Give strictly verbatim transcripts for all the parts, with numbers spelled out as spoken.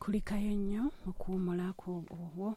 Kulikayo nnyo okuwummulako obwo.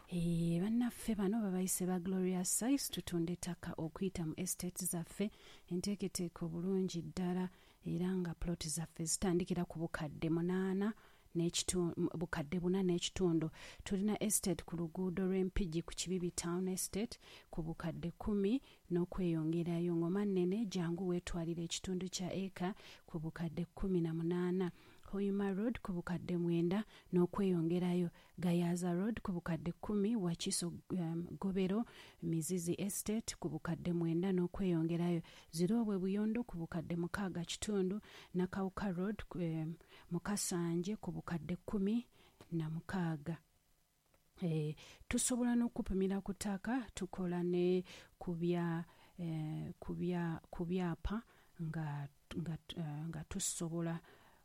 Eh, bannaffe bano babayise ba Glorious Size, tutunda ettaka okuyita mu estate zaffe enteeketeeke obulungi ddala, era nga plot zaffe zitandikira ku bukadde munaana n'ekitu- bukadde buna n'ekitundu. Tulina estate ku luguudo lw'Empigi ku Kibibi Town Estate ku bukadde kkumi n'okweyongerayo. Ngoma nnene, jangu weetwalira ekitundu kya eka ku bukadde kkumi na munaana. Hoima Road ku bukadde mwenda n'okweyongerayo. Gayaza Road ku bukadde kkumi. Wakiso um, Gobero Mizizi Estate ku bukadde mwenda n'okweyongerayo. Zirobwe Buyondo ku bukadde mukaaga kitundu. Nakawuka Road um, Mukasanje ku bukadde kkumi na mukaaga. Eh, tusobola n'okupimira ku ttaka, tukola ne ku bya eh, ku bya ku byapa nga, nga, eh, nga tusobola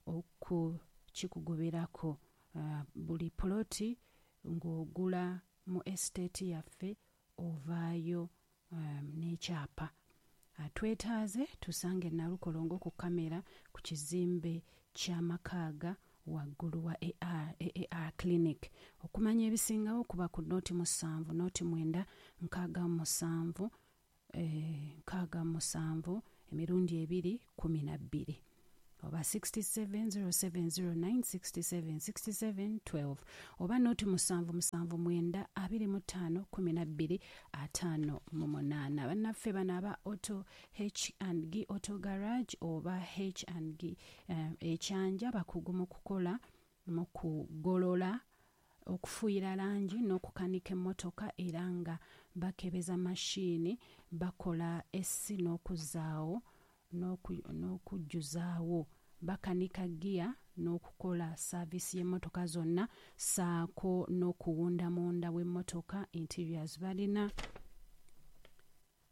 okukikugoberako. Uh, buli poloti ng'ogula mu estate yaffe ovaayo um, n'ekyapa. Atwetaaze tusange Nalukolongo ku kamera ku kizimbe ky'amakaaga waggulu wa A R, A A R Clinic. Okumanya ebisingawo kuba ku noti musanvu noti mwenda nkaaga mu musanvu, eh, nkaaga mu musanvu emirundi ebiri kumi na bbiri oba sixty-seven zero seven zero nine sixty-seven sixty-seven twelve oba noti musanvu musanvu mwenda abiri mu ttaano kumi na bbiri ataano mu munaana. Bannaffe bano aba Auto H and G Auto Garage oba H and G, eh, Ekyanja bakugu mu kukola, mu kugolola, okufuuyira langi n'okukanika emmotoka, era nga bakebeza mashiini, bakola essi n'okuzaawo n'oku-, n'okujjuzaawo, bakanika giya n'okukola saaviisi y'emmotoka zonna, ssaako n'okuwunda munda w'emmotoka interiors. Balina,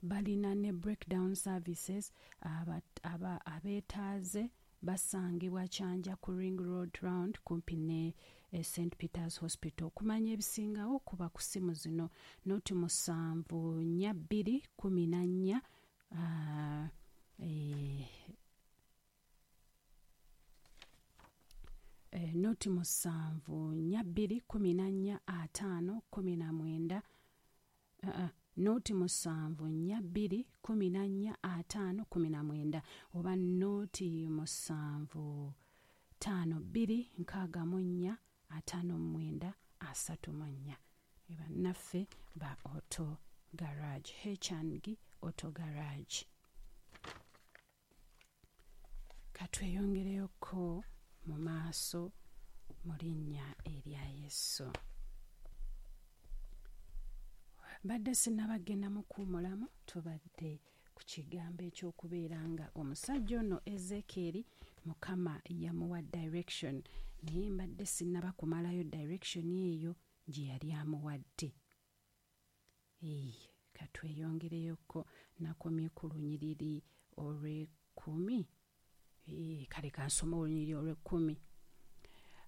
balina ne breakdown services. Aba, aba, abeetaaze basangibwa Kyanja ku Ring Road Round kumpi ne, eh, Saint Peter's Hospital. Okumanya ebisingawo kuba ku ssimu zino noti musanvu nnya bbiri kumi na nnya, ah, eh, eh, noti musanvu nnya bbiri kumi na nnya ataano kumi na mwenda, ah, ah, noti musanvu nnya bbiri kumi na nnya ataano kumi na mwenda oba noti musanvu ttaano bbiri nkaaga mu nnya ataano mu mwenda asatu mu nnya. Bannaffe ba Auto Garage, H and G Auto Garage. Katweyongereyoko mu maaso mu linnya erya Yesu. Mbadde sinnabagenda mu kuwummulamu, tubadde ku kigambo eky'okubeera nga omusajja ono Ezekieri Mukama yamuwa direction, naye mbadde sinnaba kumalayo direction eyo gye yali amuwadde. Ee, katweyongereyoko, nakomye ku lunyiriri olw'ekkumi. Ee, kale kansome olunyiriri olw'ekkumi.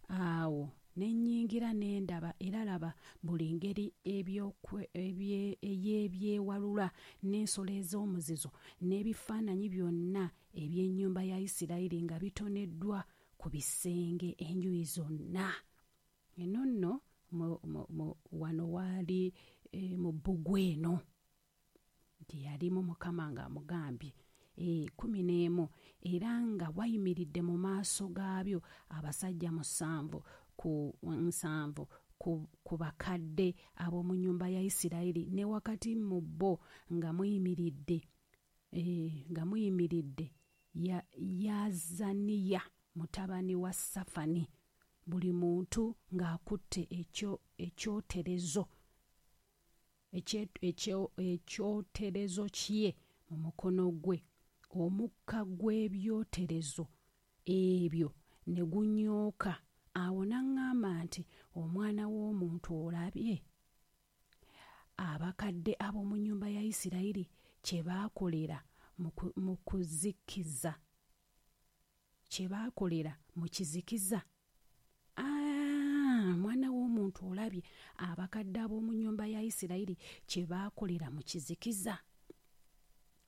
Awo ne nnyingira ne ndaba, era laba buli ngeri ebyokwe-, ebye-, ey'ebyewalula n'ensolo ez'omuzizo n'ebifaananyi byonna eby'ennyumba ya Isirayiri nga bitoneddwa ku bisenge enjuyi zonna. Eno nno mu, mu, mu, wano waali, eh, mu bbugwe eno gye yalimu Mukama ng'amugambye. Eh, kumi n'emu, era nga wayimiridde mu maaso gaabyo abasajja musanvu ku nsanvu ku, ku bakadde ab'omu nnyumba ya Isirayiri, ne wakati mu bo nga muyimiridde, eh, nga muyimiridde ya, Yazaniya mutabani wa Safani, buli muntu ng'akutte ekyo, ekyoterezo, ekye, ekyo, ekyoterezo kye mu mukono gwe. Omukka gw'ebyoterezo ebyo ne gunyooka. Awo n'aŋŋamba nti, omwana w'omuntu, olabye abakadde ab'omu nnyumba ya Isirayiri kye baakolera mu ku-, mu kuzikiza, kye baakolera mu kizikiza? Ah, mwana w'omuntu, olabye abakadde ab'omu nnyumba ya Isirayiri kye baakolera mu kizikiza?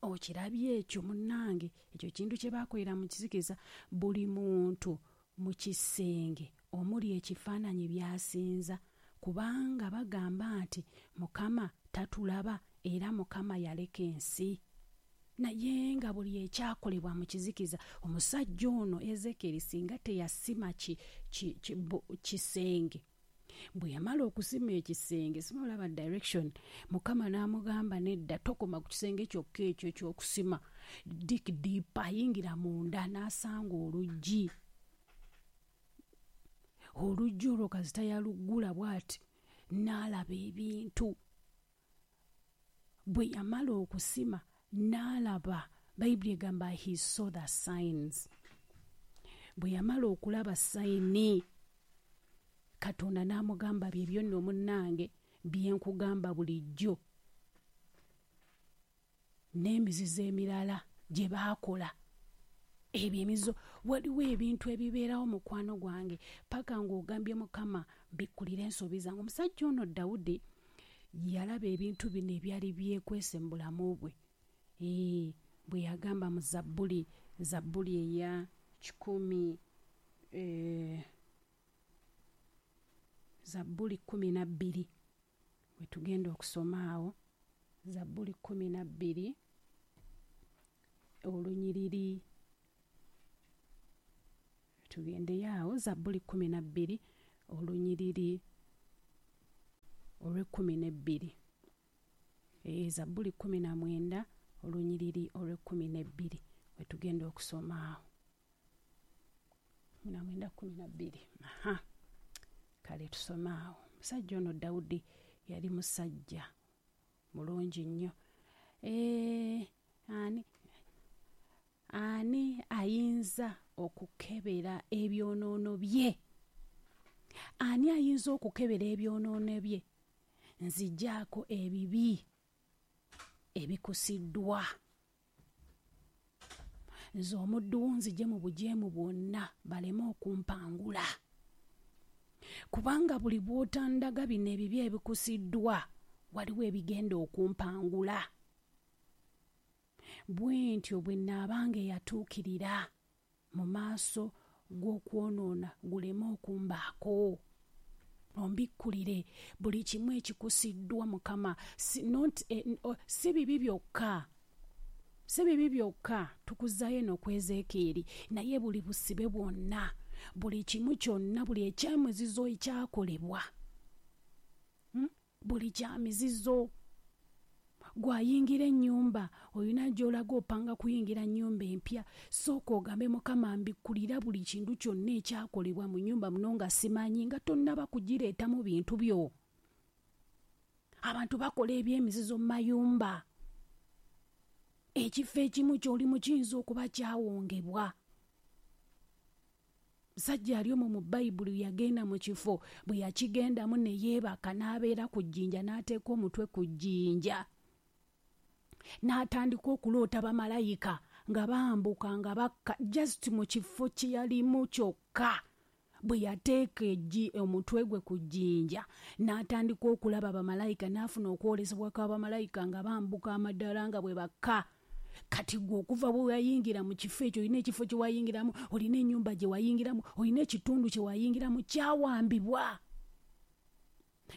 Okirabye ekyo munnange, ekyo kintu kye baakolera mu kizikiza. Buli muntu mu kisenge omuli ekifaananyi by'asinza, kubanga bagamba nti Mukama tatulaba era Mukama yaleka ensi. Naye nga buli ekyakolebwa mu kizikiza, omusajja ono Ezekieri singa teyasima ki, ki, ki, bu, kisenge, bwe yamala okusima ekisenge, sima olaba direction, Mukama n'amugamba nedda, tokoma ku kisenge kyokka ekyo eky'okusima, dig deeper, ayingira munda n'asanga oluggi. Oluggi olwo kasita yaluggula bw'ati n'alaba ebintu. Bwe yamala okusima n'alaba, Bayibuli egamba he saw the signs. Bwe yamala okulaba sayini, Katonda n'amugamba bye byonna omunnange bye nkugamba bulijjo, n'emizizo emirala gye baakola. Ebyo emizizo, waliwo ebintu ebibeerawo mukwano gwange paka ng'ogambye Mukama mbikkulira ensobi zange. Omusajja ono Dawudi yalaba ebintu bino ebyali byekwese mu bulamu bwe. Ee, bwe yagamba mu Zabbuli, Zabbuli eya kikumi, eh, Zabbuli kkumi na bbiri, we tugenda okusoma awo, Zabbuli kkumi na bbiri olunyiriri, tugendeyo awo, Zabbuli kkumi na bbiri olunyiriri olw'ekkumi n'ebbiri. Ee, Zabbuli kkumi na mwenda olunyiriri olw'ekkumi n'ebbiri we tugenda okusoma awo, kkumi na mwenda kkumi na bbiri. Aha, kale tusome awo. Omusajja ono Dawudi yali musajja mulungi nnyo. Ee, ani ani ayinza okukebera ebyonoono bye? Ani ayinza okukebera ebyonoono bye? Nzigyako ebibi ebikusiddwa. Nze omuddu wo nzigye mu bujeemu bwonna baleme okumpangula. Kubanga buli bw'otandaga bino ebibi ebikusiddwa, waliwo ebigenda okumpangula. Bwe ntyo bwe nnaabanga eyatuukirira mu maaso g'okwonoona guleme okumbaako. Ombikkulire buli kimu ekikusiddwa Mukama. Si, not, eh, oh, si bibi byokka, si bibi byokka tukuzaayo eno ku Ezekieri, naye buli busibe bwonna, buli kimu kyonna, buli ekyamizizo ekyakolebwa, hmm? Buli kyamizizo. Gw'ayingira ennyumba, olina gy'olaga opanga kuyingira nnyumba empya, sooka ogambe Mukama mbikkulira buli kintu kyonna ekyakolebwa mu nnyumba muno nga simanyi, nga tonnaba kugireetamu bintu byo. Abantu bakola eby'emizizo mu mayumba. Ekifo ekimu ky'olimu kiyinza okuba kyawongebwa. Musajja ali omwo mu Bayibuli yagenda mu kifo, bwe yakigendamu ne yeebaka n'abeera ku jjinja, n'ateeka omutwe ku jjinja, n'atandika okuloota bamalayika nga bambuka nga bakka, just mu kifo kye yalimu kyokka. Bwe yateeka eggi omutwe gwe ku jjinja, n'atandika okulaba bamalayika, n'afuna okwolesebwa kwa bamalayika nga bambuka amaddaala nga bwe bakka. Kati gwe okuva bwe wayingira mu kifo ekyo, olina ekifo kye wayingiramu, olina ennyumba gye wayingiramu, olina ekitundu kye wayingiramu, kyawambibwa.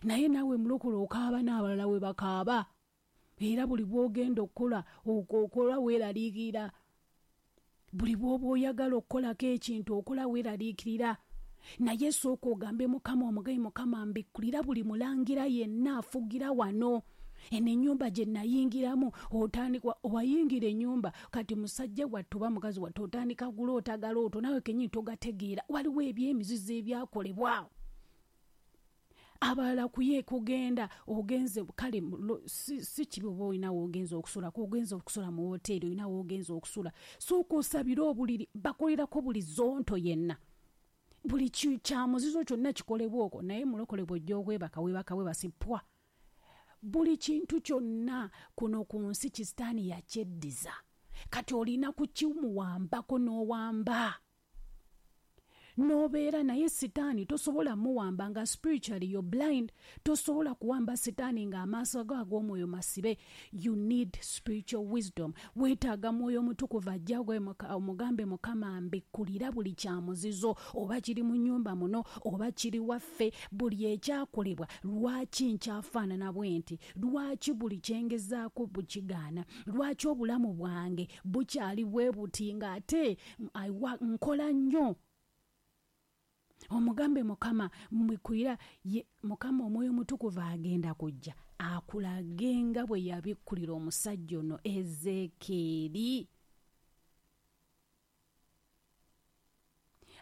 Naye naawe mulokole okaaba n'abalala we bakaaba. Era buli bw'ogenda okukola, okola weeraliikirira. Buli bw'oba oyagala okukolako ekintu, okola weeraliikirira. Naye sooka ogambe Mukama, omugayi Mukama mbikkulira buli mulangira yenna afugira wano. Eno ennyumba gye nayingiramu, otandika wayingira ennyumba, kati musajja wattu oba mukazi wattu otandika kuloota galooto, naawe kennyini togategeera. Waliwo eby'emizizo ebyakolebwa. Abalala kuye kugenda ogenze, kale si, si kibi oba olina w'ogenze okusulako, ogenze okusula mu woteeri, olina w'ogenze okusula, sooka osabire obuliri, bakolerako buli zonto yenna, buli kyamuzizo kyonna kikolebwa okwo. Naye mulokole bw'ojja okwebaka, weebaka weebasi pwa. Buli kintu kyonna kuno ku nsi kisitaani yakyeddiza. Kati olina kukimuwambako n'owamba. N'obeera naye sitaani tosobola muwamba nga spiritually you're blind. Tosobola kuwamba sitaani ng'amaaso go ag'omwoyo masibe. You need spiritual wisdom. Weetaaga mwoyo mutukuvu ajja gwe omugambe Mukama mbikkulira buli kya muzizo, oba kiri mu nnyumba muno oba kiri waffe, buli ekyakolebwa lwaki nkyafaanana bwe nti, lwaki buli kyengezaako bukigaana, lwaki obulamu bwange bukyali bwe buti ng'ate nkola nnyo. Omugambe Mukama mbikkulira ye Mukama omwoyo mutukuvu agenda kujja akulage nga bwe yabikkulira omusajja ono Ezeekyeri.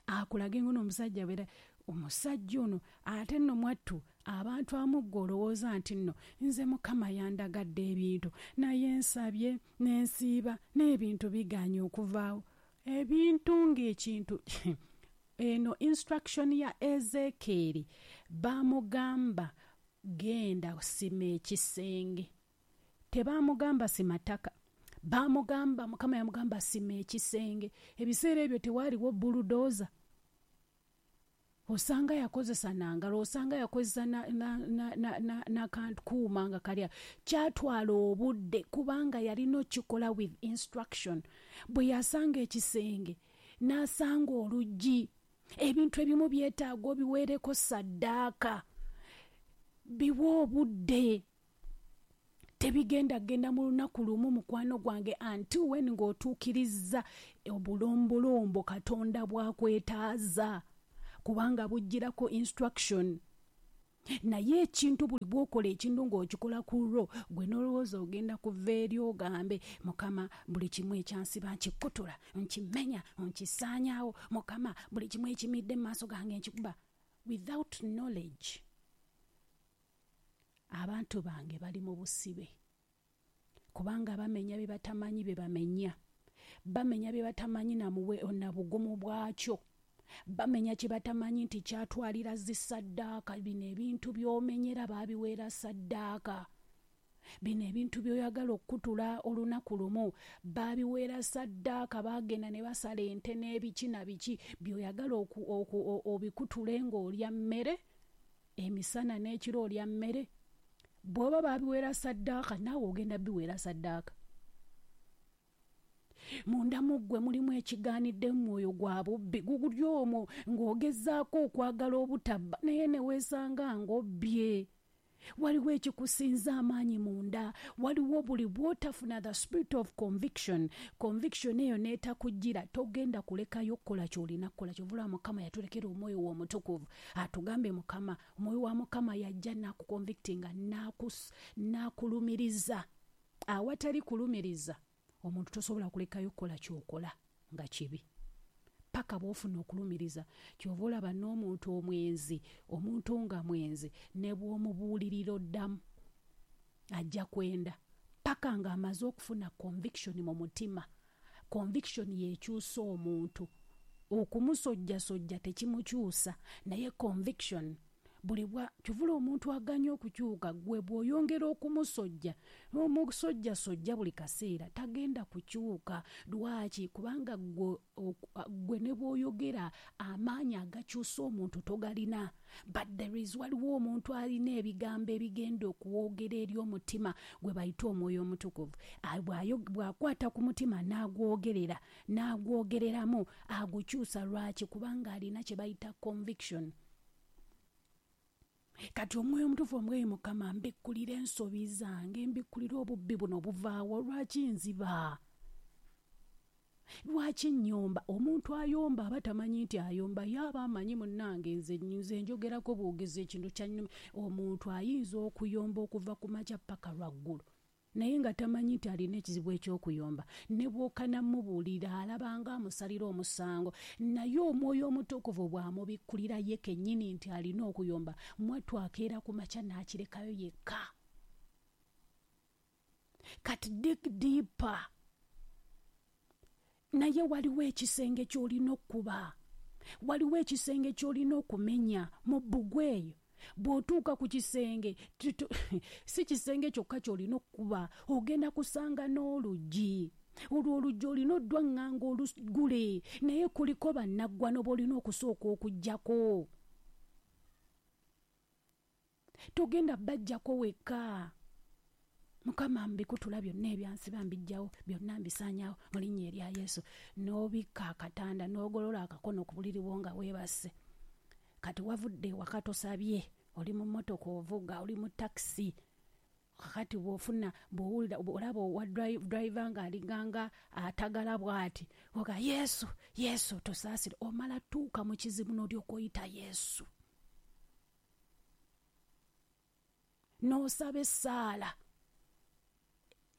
Akulage nga omusajja bwera omusajja ono ate nno mwattu abantu amugga olowooza nti nno nze Mukama yandagadde ebintu naye nsabye n'ensiiba n'ebintu bigaanye okuvaawo. Ebintu ng'ekintu eno instruction ya Ezeekyeri bamugamba genda sima ekisenge. Tebamugamba sima ttaka, bamugamba Mukama yamugamba sima ekisenge. Ebiseera ebyo tewaaliwo bulldozer. Osanga yakozesa nangalo, osanga yakozesa n'akankuuma nga kalya. Kyatwala obudde kubanga yalina okikola with instruction. Bwe yasanga ekisenge n'asanga oluggi. Ebintu ebimu byetaaga obiweereko saddaaka, biwe obudde. Tebigenda genda mu lunaku lumu mukwano gwange until when ng'otuukirizza obulombolombo Katonda bw'akwetaaza, kubanga bujjirako instruction. Naye ekintu buli bw'okola ekintu ng'okikola ku lwo gwe n'olowooza ogenda kuva eri ogambe Mukama buli kimu ekyansiba nkikutula, nkimenya, nkisaanyaawo, Mukama buli kimu ekimidde mu maaso gange nkikuba. Without knowledge abantu bange bali mu busibe, kubanga bamenya bye batamanyi bye bamenya, bamenya bye batamanyi na bugumu bwakyo, bamenya kye batamanyi nti kyatwalira zisaddaaka. Bino ebintu by'omenyera baabiweera saddaaka. Bino ebintu by'oyagala okukutula olunaku lumu baabiweera saddaaka. Baagenda ne basala ente n'ebiki na biki by'oyagala obikutule ng'olya mmere emisana n'ekiro olya mmere. Bw'oba baabiweera saddaaka naawe ogenda biweera saddaaka. Munda mu ggwe mulimu ekigaanidde mwoyo gwa bubbi guguli omwo ng'ogezaako okwagala obutabba naye ne weesanga ng'obbye. Waliwo ekikusinza amaanyi munda, waliwo buli bw'otafuna the spirit of conviction, conviction eyo n'etakujjira togenda kulekayo kukola ky'olina kukola. Kyova Mukama yatulekera omwoyo we omutukuvu atugambe Mukama, omwoyo wa Mukama yajja n'akuconvictinga n'akulumiriza. Awatali kulumiriza omuntu tosobola kulekayo kukola ky'okola nga kibi paka bw'ofuna okulumiriza. Kyova olaba n'omuntu omwenzi, omuntu nga mwenzi ne bw'omubuulirira oddamu ajja kwenda paka ng'amaze okufuna conviction mu mutima. Conviction y'ekyusa omuntu, okumusojjasojja tekimukyusa, naye conviction buli bwa kyovula omuntu aganya okukyuka gwe bw'oyongera okumusojja n'omusojjasojja buli kaseera tagenda kukyuka. Lwaki? Kubanga gwe ne bw'oyogera amaanyi agakyusa omuntu togalina. But there is waliwo omuntu alina ebigambo ebigenda okuwogera eri omutima gwe bayita omwoyo omutukuvu. Bw'akwata ku mutima n'agwogerera n'agwogereramu agukyusa. Lwaki? Kubanga alina kye bayita conviction. Kati omwoyo omutuufu omwoyo Mukama mbikkulira ensobi zange, mbikkulira obubbi buno buvaawo. Lwaki nziba? Lwaki nnyomba? Omuntu ayomba aba tamanyi nti ayomba, ye aba amanyi munnange nze nze njogerako bwogezi ekintu kya nnuma. Omuntu ayinza okuyomba okuva ku makya paka lwaggulo naye nga tamanyi nti alina ekizibu eky'okuyomba. Ne bw'okana mubuulira alabanga amusalira omusango, naye omwoyo omutukuvu bw'amubikkulira ye kennyini nti alina okuyomba, mwattu akeera ku makya n'akirekayo yekka. Kati dig deeper. Naye waliwo ekisenge ky'olina okkuba, waliwo ekisenge ky'olina okumenya mu bbugwe eyo. Bw'otuuka ku kisenge si kisenge kyokka ky'olina okkuba, ogenda kusanga n'oluggi. Olwo oluggi olina oddwaŋŋanga olugule, naye kuliko bannaggwano b'olina okusooka okuggyako. Togenda bajjako wekka. Mukama mbikutula byonna ebyansiba mbijjawo, byonna mbisaanyaawo mu linnya erya Yesu. N'obikka akatanda n'ogolola akakono ku buliri bwo nga weebase. Kati wavudde ewaka tosabye, oli mu mmotoka ovuga, oli mu takisi. Kakati bw'ofuna bw'owulira olaba owa driver ng'alinganga atagala bw'ati, oga Yesu, Yesu tusaasire. Omala tuuka mu kizibu n'olyoka oyita Yesu. N'osaba essaala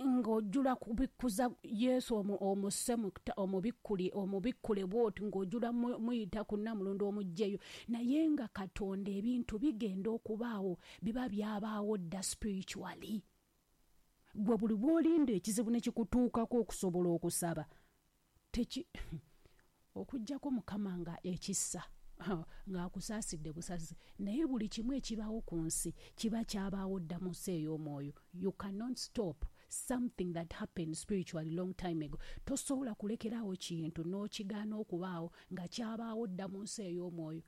ng'ojjula kubikkuza Yesu omuse omubikkuli omubikkule bw'oti ng'ojjula muyita ku nnamulondo omuggyeyo. Naye nga Katonda ebintu bigenda okubaawo biba byabaawo dda spiritually. Gwe buli bw'olinda ekizibu ne kikutuukako okusobola okusaba teki okuggyako Mukama nga ekissa ng'akusaasidde busaasi. Naye buli kimu ekibaawo ku nsi kiba kyabaawo dda mu nsi ey'omwoyo. You cannot stop something that happened spiritually long time ago. Tosobola kulekeraawo kintu n'okigaana okubaawo nga kyabaawo dda mu nsi ey'omwoyo.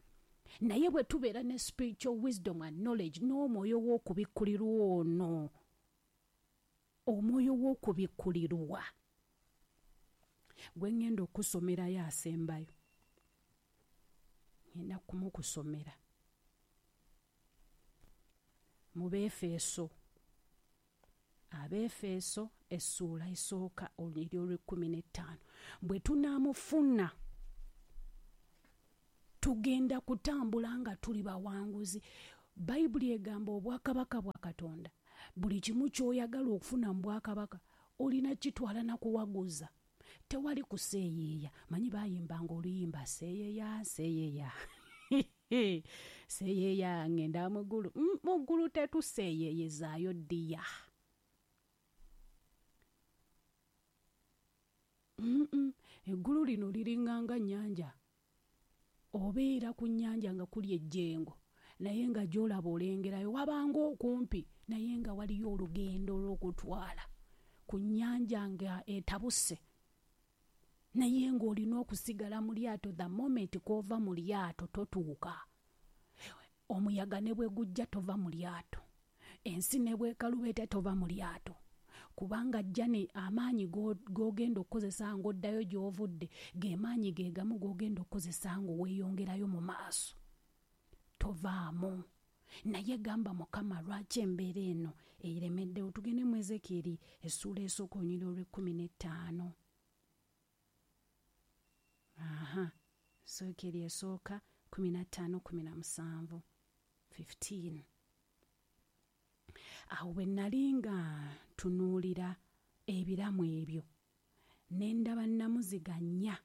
Naye bwe tubeera ne spiritual wisdom and knowledge n'omwoyo w'okubikkulirwa ono, omwoyo w'okubikkulirwa gwe ŋŋenda okusomerayo asembayo, ngenda kumukusomera mu Beefeso. Abeefeso essuula esooka olunyiriri olw'ekkumi n'ettaano. Bwe tunaamufuna tugenda kutambula nga tuli bawanguzi. Bayibuli egamba obwakabaka bwa Katonda, buli kimu ky'oyagala okufuna mu bwakabaka olina kitwala na kuwaguza. Tewali kuseeyeeya. Manyi baayimbanga oluyimba seeyeeya seeyeeya seeyeeya ngenda mu ggulu. Mu ggulu tetuseeyeeyezaayo ddiya. Eggulu lino liringanga nnyanja. Obeera ku nnyanja nga kuli ejjengo, naye nga gy'olaba olengerayo wabanga okumpi, naye nga waliyo olugendo olw'okutwala ku nnyanja nga etabuse, naye ng'olina okusigala mu lyato. The moment k'ova mu lyato totuuka. Omuyaga ne bwe gujja tova mu lyato, ensi ne bwekaluba etya tova mu lyato, kubanga jjane amaanyi g'ogenda okukozesa ng'oddayo gy'ovudde ge maanyi ge gamu g'ogenda okukozesa ng'oweeyongerayo mu maaso. Tovaamu. Naye gamba Mukama lwaki embeera eno eremeddewo. Tugende mu Ezekieri essuula esooka olunyiriri olw'ekkumi n'ettaano. Aha, Ezekieri esooka kkumi na ttaano kkumi na musanvu fifteen. Awo bwe nali nga ntunuulira ebiramu ebyo, ne ndaba nnamuziga nnya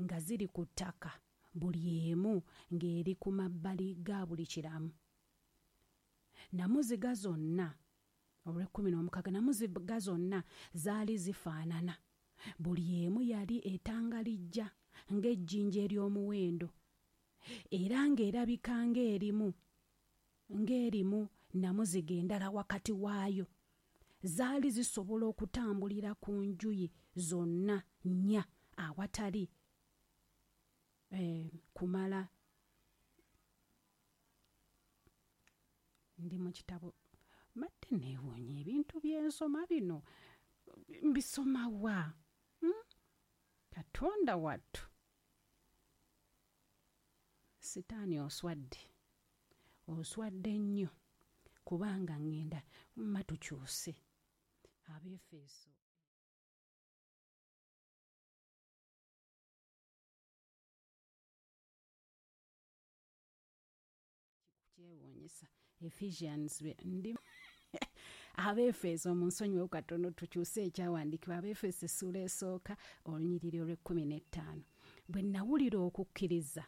nga ziri ku ttaka, buli emu ng'eri ku mabbali ga buli kiramu. Nnamuziga zonna olw'ekkumi n'omukaaga, nnamuziga zonna zaali zifaanana. Buli emu yali etangalijja ng'ejjinja ery'omuwendo, era ng'erabika ng'erimu ng'erimu nnamuziga endala wakati waayo. Zaali zisobola okutambulira ku njuyi zonna nnya awatali eh, kumala. Ndi mu kitabo mbadde neewuunya ebintu by'ensoma bino mbisoma wa? Hmm? Katonda wattu, Sitaani oswadde, oswadde nnyo, kubanga ŋŋenda mma tukyuse. Abeefeso kyewuunyisa. Ephesians ndi Abeefeso mu nsonyiwe katono tukyuse ekyawandiikibwa. Abeefeso essuula esooka olunyiriri olw'ekkumi n'ettaano. Bwe nawulira okukkiriza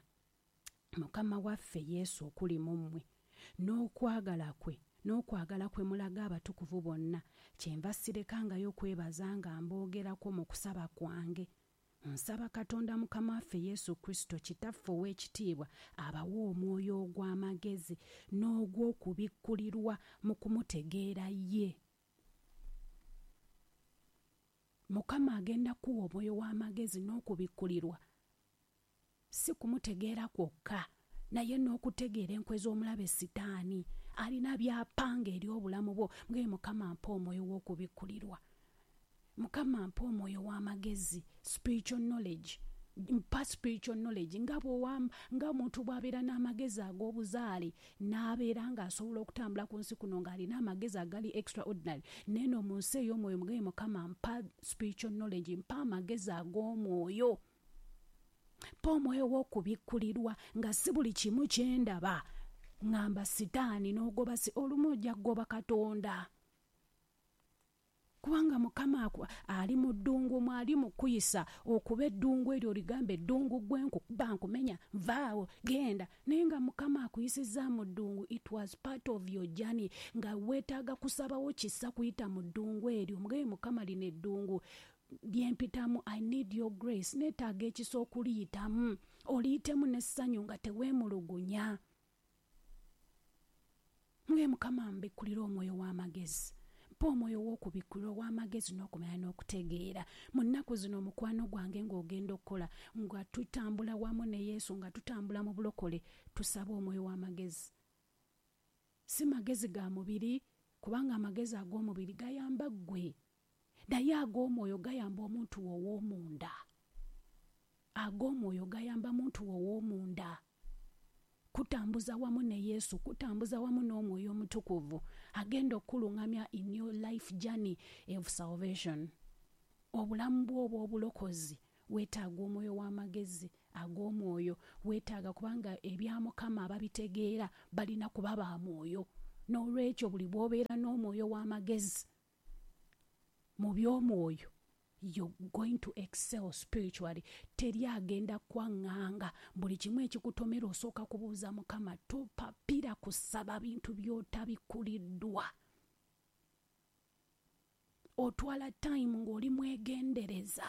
Mukama waffe Yesu okuli mu mmwe n'okwagala kwe n'okwagala kwe mulaga abatukuvu bonna, kyenva sirekangayo kwebaza nga mboogerako mu kusaba kwange. Nsaba Katonda Mukama waffe Yesu Kristo Kitaffe ow'ekitiibwa abawe omwoyo ogw'amagezi n'ogw'okubikkulirwa mu kumutegeera ye. Mukama agenda kuwa omwoyo w'amagezi n'okubikkulirwa, si kumutegeera kwokka, naye n'okutegeera enkwe z'omulabe Sitaani. Alina by'apanga eri obulamu bwo. Mugambe, Mukama mpa omwoyo w'okubikkulirwa, Mukama mpa omwoyo w'amagezi, spiritual knowledge, mpa spiritual knowledge. Nga bw'owa- nga omuntu bw'abeera n'amagezi ag'obuzaale n'abeera ng'asobola okutambula ku nsi kuno ng'alina amagezi agali extraordinary, neeno mu nsi ey'omwoyo mugambe, Mukama mpa spiritual knowledge, mpa amagezi ag'omwoyo, mpa omwoyo w'okubikkulirwa, nga si buli kimu kyendaba ŋŋamba Sitaani n'ogoba si olumu ojja kugoba Katonda, kubanga Mukama aku- ali mu ddungu mwali mu kuyisa okuba eddungu eryo oligambe eddungu gwe nkukuba nkumenya nvaawo genda, naye nga Mukama akuyisizza mu ddungu. It was part of your journey, nga weetaaga kusabawo kisa kuyita mu ddungu eryo. Mugambe, Mukama lino eddungu lyempitamu, I need your grace, neetaaga ekisa okuliyitamu. Oliyitemu n'essanyu nga teweemulugunya. Mugambe, Mukama mbikkulira omwoyo w'amagezi, mpa omwoyo w'okubikkulirwa ow'amagezi n'okumanya n'okutegeera. Mu nnaku zino omukwano gwange ng'ogenda okukola nga tutambula wamu ne Yesu, nga tutambula mu bulokole, tusaba omwoyo w'amagezi, si magezi ga mubiri, kubanga amagezi ag'omubiri gayamba ggwe, naye ag'omwoyo gayamba omuntu ow'omunda. Ag'omwoyo gayamba muntu ow'omunda kutambuza wamu ne Yesu, kutambuza wamu n'Omwoyo Omutukuvu agenda okukuluŋŋamya in your life journey of salvation. Obulamu bwo obw'obulokozi weetaaga omwoyo w'amagezi ag'omwoyo, weetaaga, kubanga ebya Mukama ababitegeera balina kuba ba mwoyo. N'olwekyo buli bw'obeera n'omwoyo w'amagezi mu by'omwoyo, you're going to excel spiritually. Teri agenda kwaŋŋanga. Buli kimu ekikutomera osooka kubuuza Mukama. Topapira kusaba bintu by'otabikkuliddwa. Otwala time ng'oli mwegendereza.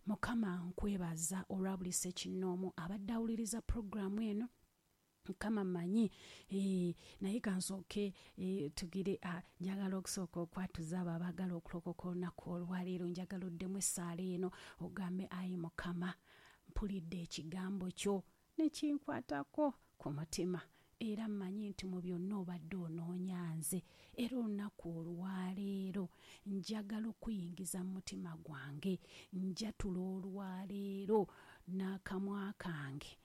Mukama nkwebaza olwa buli ssekinnoomu abadde awuliriza puroguraamu eno. Mukama mmanyi, eh, naye kansooke eh, tugire, ah, njagala okusooka okwatuza abo abaagala okulokoka olunaku olwaleero. Njagala oddemu essaala eno ogambe, ayi Mukama, mpulidde ekigambo kyo ne kinkwatako ku mutima, era mmanyi nti mu byonna obadde onoonya nze, era olunaku olwaleero njagala okuyingiza mu mutima gwange. Njatula olwaleero n'akamwa kange,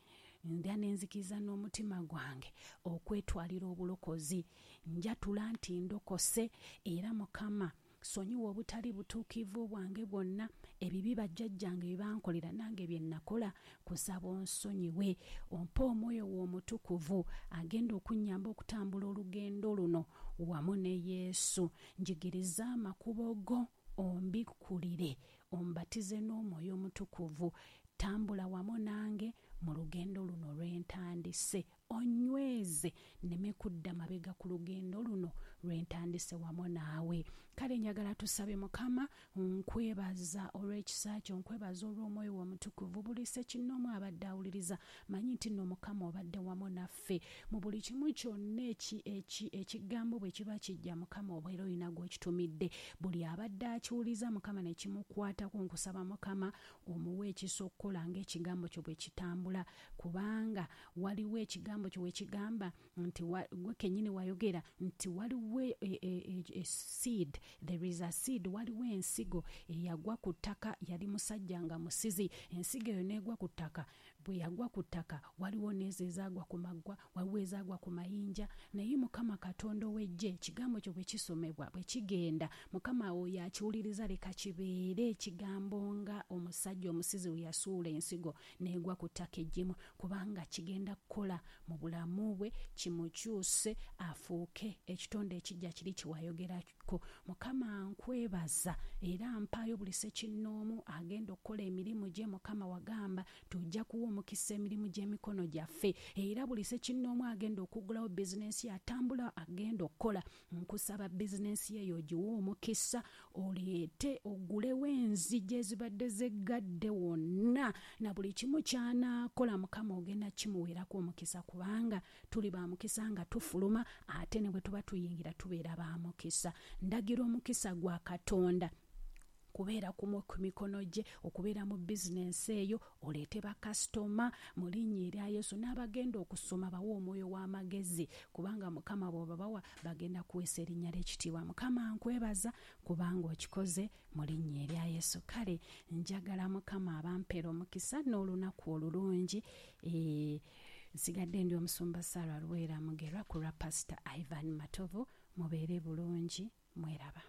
ndya nenzikiriza n'omutima gwange okwetwalira obulokozi. Njatula nti ndokose, era Mukama sonyiwa obutali butuukirivu bwange bwonna, ebibi bajjajjange bye bankolera nange bye nakola, kusaba onsonyiwe, ompe omwoyo wo omutukuvu agenda okunnyamba okutambula olugendo luno wamu ne Yesu. Njigiriza amakubo go, ombikkulire, ombatize n'Omwoyo Omutukuvu. Tambula wamu nange mu lugendo luno lwentandise, onyweze nneme kudda mabega ku lugendo luno lwentandise wamu naawe. Kale njagala tusabe. Mukama nkwebaza olw'ekisa kyo, nkwebaza olw'Omwoyo wo Omutukuvu. Buli ssekinnoomu abadde awuliriza, manyi nti nno Mukama obadde wamu naffe mu buli kimu kyonna. eki- eki- ekigambo bwe kiba kijja, Mukama obeera olina gw'okitumidde. Buli abadde akiwuliza, Mukama, ne kimukwatako, nkusaba Mukama omuwe ekisa okukola ng'ekigambo kyo bwe kitambula, kubanga waliwo ekigambo kyo we kigamba nti wa- gwe kennyini wayogera nti waliwo e, e, e, e seed, there is a seed, waliwo ensigo eyagwa ku ttaka. Yali musajja nga musizi, ensigo eyo n'egwa ku ttaka. Bwe yagwa ku ttaka, waliwo n'ezo ezaagwa ku maggwa, waliwo ezaagwa ku mayinja. Naye Mukama Katonda ow'eggye, ekigambo kyo bwe kisomebwa, bwe kigenda, Mukama oyo akiwuliriza, leka kibeere ekigambo nga omusajja omusizi we yasuula ensigo n'egwa ku ttaka eggimu, kubanga kigenda kukola mu bulamu bwe, kimukyuse afuuke ekitonde ekijja kiri kyewayogera Aliko. Mukama nkwebaza era mpaayo buli ssekinnoomu agenda okukola emirimu gye. Mukama wagamba tujja kuwa omukisa emirimu gy'emikono gyaffe, era buli ssekinnoomu agenda okuggulawo bizinensi atambula agenda okukola, nkusaba bizinensi eyo ogiwe omukisa, oleete oggulewo enzigi ezibadde zeggadde wonna, na buli kimu ky'anaakola Mukama ogenda kimuweerako omukisa, kubanga tuli ba mukisa nga tufuluma, ate ne bwe tuba tuyingira tubeera ba mukisa. Ndagira omukisa gwa Katonda kubeera ku mikono gye, okubeera mu bizinensi eyo, oleete bakasitoma mu linnya erya Yesu, n'abagenda okusoma bawe omwoyo w'amagezi, kubanga Mukama bw'obabawa bagenda kuweesa erinnya ly'ekitiibwa. Mukama nkwebaza kubanga okikoze mu linnya erya Yesu. Kale njagala Mukama abampeera omukisa n'olunaku olulungi. E, nsigadde ndi omusumba Sarah Luweera Mugerwa ku lwa Pastor Ivan Matovu. Mubeere bulungi, mweraba.